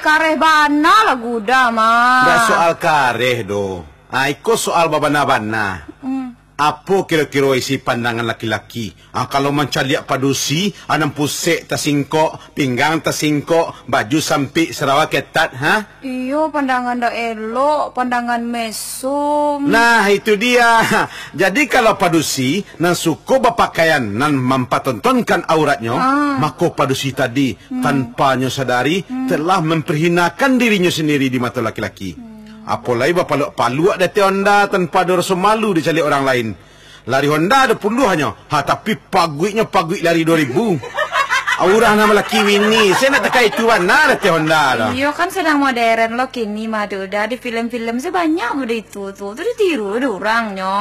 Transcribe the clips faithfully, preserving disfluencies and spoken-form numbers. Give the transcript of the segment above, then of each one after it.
Kareh bana lah guda, Mak. Ndak soal kareh doh. Ah, iko soal babana-bana. Hmm. Apo kiro-kiro isi pandangan laki-laki? Ah, kalau mancaliak padusi, ah, nan pusek tasingkok, pinggang tasingkok, baju sampik, sarawa ketat, ha? Iyo, pandangan dak elok, pandangan mesum. Nah, itu dia. Jadi, kalau padusi nan suko bapakaian nan mampatontonkan auratnyo, ah, mako padusi tadi, hmm, tanpa nyo sadari, hmm, telah memperhinakan dirinyo sendiri di mato laki-laki. Hmm. Apo lai bapaluak-paluak di ateh honda tanpa ado raso malu dicaliak urang lain. Lari honda ado puluahnyo, ha, tapi paguiknyo paguik lari duo ribu. Urang nan malaki bini, se nak takah itu bana di ateh honda tu. Iyo, kan sadang modern lo kini mah tu. Dah di film-film se banyak model itu tu. Tu ditiru dek urangnyo.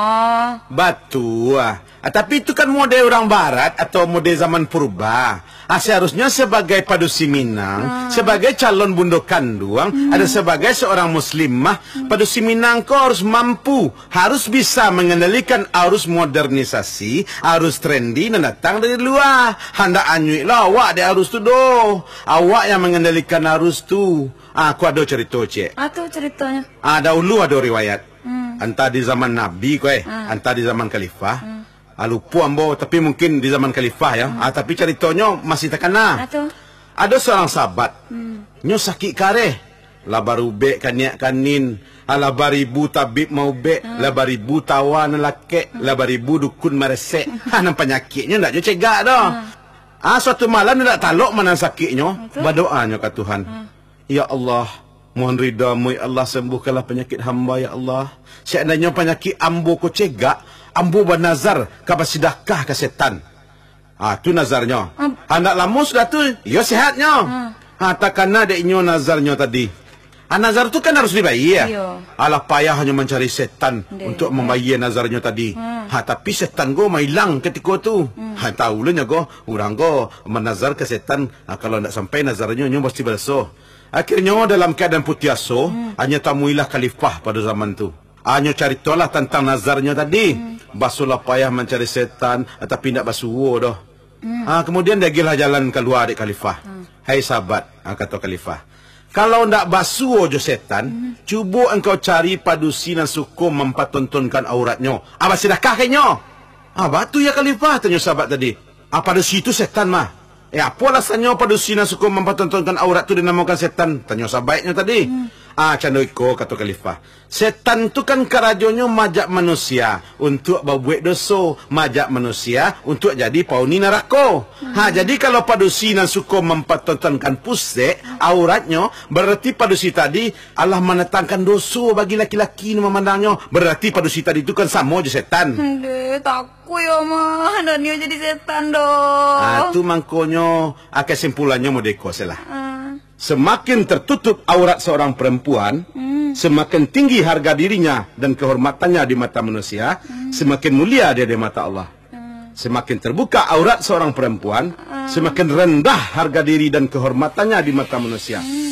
Batua. Ah, tapi itu kan model urang barat atau model zaman purba. Ah, seharusnyo sebagai padusi Minang, ah, sebagai calon bundo kanduang, hmm, atau sebagai seorang muslimah, hmm, padusi Minang ko harus mampu, harus bisa mengendalikan arus modernisasi, arus trendy nan datang dari lua. Handak anyuik lah awak dek arus tu doh. Awak yang mengendalikan arus tu. Ah, aku ado carito, Cek. Apo caritonyo? Ah, dahulu ado riwayat. Hmm. Antah di zaman Nabi ko, eh, ah, antah di zaman khalifah. Hmm. Ah, lupo ambo, tapi mungkin di zaman khalifah, ya. Hmm. Ah, tapi caritonyo masih takana. Apo tu? Ado seorang sahabat, hmm, nyo sakik kareh. Lah barubek kaniak kanin, ah, lah baribu tabib maubek, hmm, lah baribu tawa nan lakek, hmm, lah baribu dukun maresek. Ha, nan panyakiknyo ndak nyo cegak doh. Hmm. Ah, suatu malam ndak talok ma nan sakiknyo, apo tu? Badoanyo ka Tuhan. Hmm. Ya Allah, mohon ridha-Mu, ya Allah, sembuhkanlah penyakit hamba, ya Allah. Seandainyo panyakik ambo ko cegak, ambo banazar ka basidakah ka setan. Ah, tu nazarnyo. Am- Handak lamo sudah tu, iyo sehatnyo. Hmm. Ha, takana dek inyo nazarnyo tadi. Ah, nazar tu kan harus dibayia. Iyo. Alah payahnyo mancari setan, dek, untuk mambayia nazarnyo tadi. Hmm. Ha, tapi setan ko mailang katiko tu. Hmm. Ha, tahu lo nyo ko, urang ko manazar ka setan, ha, kalau ndak sampai nazarnyo, nyo pasti baraso. Akhirnyo dalam keadaan putuih aso, hmm, hanyo tamuilah khalifah pado zaman tu. Hanyo caritolah tantang nazarnyo tadi. Hmm. Basuo lah payah mancari setan, tapi indak basuo doh. Hmm. Ah, kemudian diagiahlah jalan kalua dek khalifah. Hmm. "Hai sahabat," ah, kato khalifah, "kalau ndak basuo jo setan, hmm, cubo engkau cari padusi nan suko mampatontonkan auratnyo. Ah, basidakah ka inyo." "Ah, baa tu, ya khalifah?" tanyo sahabat tadi. "Ah, padusi tu setan mah." "Eh, apo alasannyo padusi nan suko mampatontonkan aurat tu dinamokan setan?" tanyo sahabatnyo tadi. Hmm. "Ah, cando iko," kato khalifah. "Setan tu kan karajonyo maajak manusia untuak babuek doso, maajak manusia untuak jadi pauni narako. Hmm. Ha, jadi kalau padusi nan suko mampatontonkan pusek auratnyo, bararti padusi tadi alah mandatangkan doso bagi laki-laki nan mamandangnyo. Bararti padusi tadi tu kan samo jo setan." Ndeh, tak Ku yo mah, ndak nio jadi setan doh. Ah, tu mangkonyo, ah, kesimpulannyo modeko se lah. Ah. Semakin tertutup aurat seorang perempuan, hmm, semakin tinggi harga dirinya dan kehormatannya di mata manusia, hmm, semakin mulia dia di mata Allah. Hmm. Semakin terbuka aurat seorang perempuan, hmm, semakin rendah harga diri dan kehormatannya di mata manusia. Hmm.